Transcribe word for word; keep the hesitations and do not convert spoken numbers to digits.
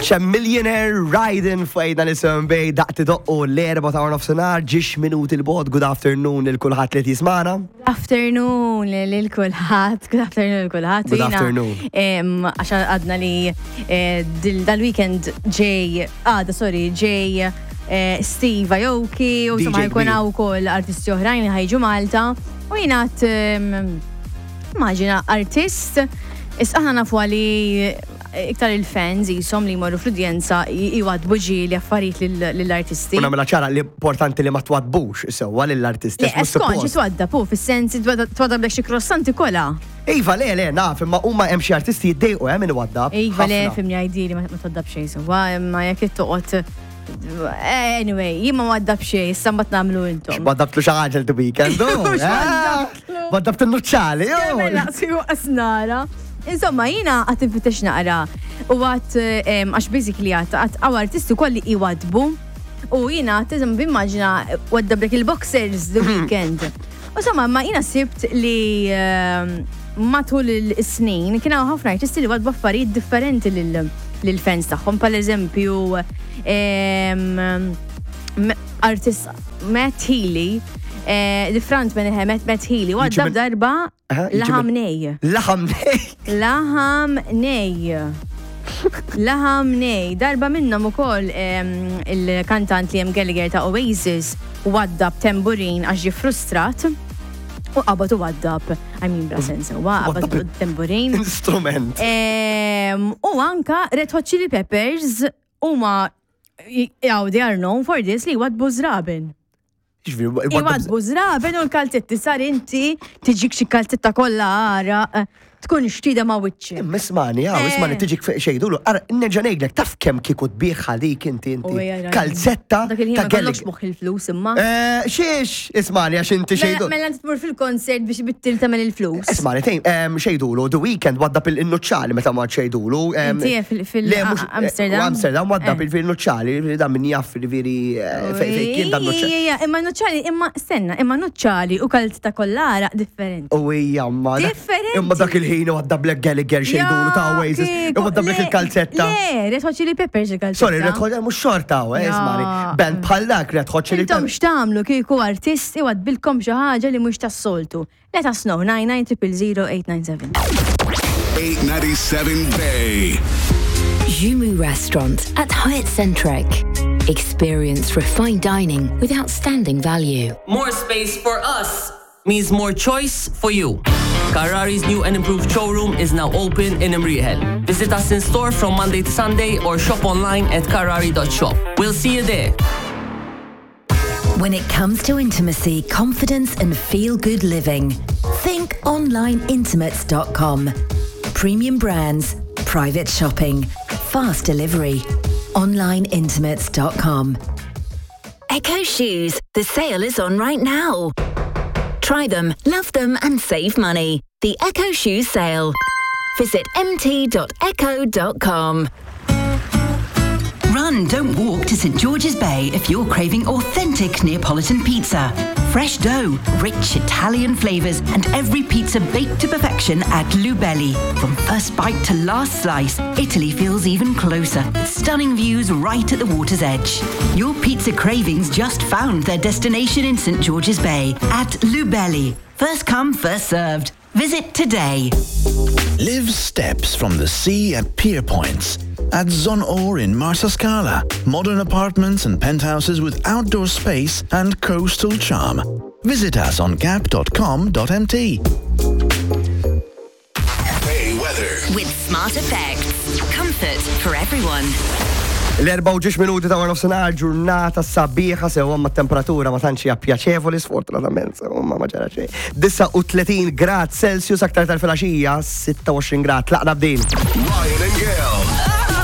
Chamillionaire Riding f'għidna nisem bej daqt idoqqu l-erbgħa ta' nofsinhar, ġiex minuti 'l bogħod. Good afternoon lil kulħadd li jismagħna. Good afternoon lil kulħadd, good afternoon lil kulħadd. Good afternoon. Għax għadna li eh, dal-weekend ġej, għada, sorry, ġej eh, Steve Aoki u D J insomma jkun kbir. hawn ukoll artisti oħrajn li ħa jiġu Malta. U jiena immaġina artist, is aħna nafu li iktar il-fans jisom li jmorru fl-udjenza jwadbu ġieli affarijiet lill-artisti. U nagħmilha ċara li importanti li ma twadbux sewwa lill-artisti. Le, mhux skont, suppost. twadda pu, fis-sens twadda blek xi krossanti kola. Iva, le, le, naf, imma huma hemm xi artisti jiddejqu hemm min iwaddab. Iva, le, Ħafna. fimni għajdili ma twaddab xejn, sewwa, imma jekk toqgħod. Anyway, jien ma waddab xejn, issa mbagħad nagħmlu intom. Waddabtlu xi ħaġa l weekend, oh, Mhux eh? waddabtlu. Waddabt il-nuċċali, oh. Mela, si nara. Insomma, jiena għad infittex naqra u għad, għax basically għad, għad għaw artisti kolli iwadbu u jiena għad bimmaġina waddablek il-boxers the weekend. U insomma, ma jiena sibt li em, matul il-snin kien hawn ħafna artisti li wadbu affarijiet differenti lil- lil-fans tagħhom. Pal eżempju, em, m- artist Matt Healy, eh, the frontman eh, Matt, Matt Healy, waddab min- darba Aha, jiġi laħam min- nej. Laħam nej. Laħam nej. Laħam nej. Darba minnhom ukoll em, il-kantant Liam Gallagher ta' Oasis waddab tamburin għax ġie frustrat u qabad u waddab, I mean, bla sens, huwa qabad Waddab tamburin. Instrument. Em, U anka Red Hot Chili Peppers huma jaw, they are known for this li wadbu żraben. Ġifieri, waddab- Iwadbu żraben u l-kalzetti sar inti tiġik xi kalzetta kollha għara tkun xtida ma' wiċċi. Imma ismani, għaw, ismani Eh. tiġik xejdulu, ara, nerġa' ngħidlek, taf kemm kieku tbieħ dik inti U inti. hija raġun. Kalzetta Dak il-ħin ta' ma kollokx Gallagher. moħħ il-flus imma. Eh, Xiex, ismani, għax inti Mela xejdu. mela inti tmur fil-konsert biex bittil tagħmel il-flus. Ismani, tejn, em, xejdulu, The Weeknd waddab il-nuċċali meta ma xejdulu. em, Inti fil- fil- Le, mhux- Amsterdam? eh, u Amsterdam waddab Eh. il-nuċċali, da min jaff veri fejn fejn kien dan nuċċali. Ija, imma nuċċali, imma stenna, imma nuċċali u kalzetta kollara differenti. U hija ma dak- Differenti. Imma dak il-ħin waddab lek Gallagher xejdulu ta' Oasis. kieku, Waddab lek le, il-kalzetta. Le, Red Hot Chili Peppers il-kalzetta. Sorry, Red Hot, mhux xorta, eh, Ja. ismani. Band bħal dak Red Hot Chili Intom Peppers. x'tagħmlu kieku artist iwadbilkom xi ħaġa li mhux tas-soltu. Let us know nine nine zero zero eight nine seven. eight ninety-seven Bay. Jumu Restaurant at Hyatt Centric. Experience refined dining with outstanding value. More space for us means more choice for you. Carrari's new and improved showroom is now open in Imrieħel. Visit us in store from Monday to Sunday or shop online at carrari dot shop. We'll see you there. When it comes to intimacy, confidence, and feel good living, think online intimates dot com. Premium brands, private shopping, fast delivery. online intimates dot com. Echo Shoes. The sale is on right now. Try them, love them, and save money. The Echo Shoes sale. Visit M T dot echo dot com. Run, don't walk to Saint George's Bay if you're craving authentic Neapolitan pizza. Fresh dough, rich Italian flavours, and every pizza baked to perfection at Lubelli. From first bite to last slice, Italy feels even closer. With stunning views right at the water's edge. Your pizza cravings just found their destination in Saint George's Bay at Lubelli. First come, first served. Visit today. Live steps from the sea at Pier Points. At Zonor in Marsascala. Modern apartments and penthouses with outdoor space and coastal charm. Visit us on gap dot com dot M T. Bay weather. With Smart Effects. Comfort for everyone. L-erbgħa u ġiex minuti ta' nofsinhar, ġurnata sabiħa sew ma temperatura ma tantx hija pjaċevoli sfortunatament, sew ma ma ġara xejn. disgħa u tletin grad Celsius, aktar tal-filgħaxija sitta u għoxrin grad. Tlaqna b'din. Ryan and Gail.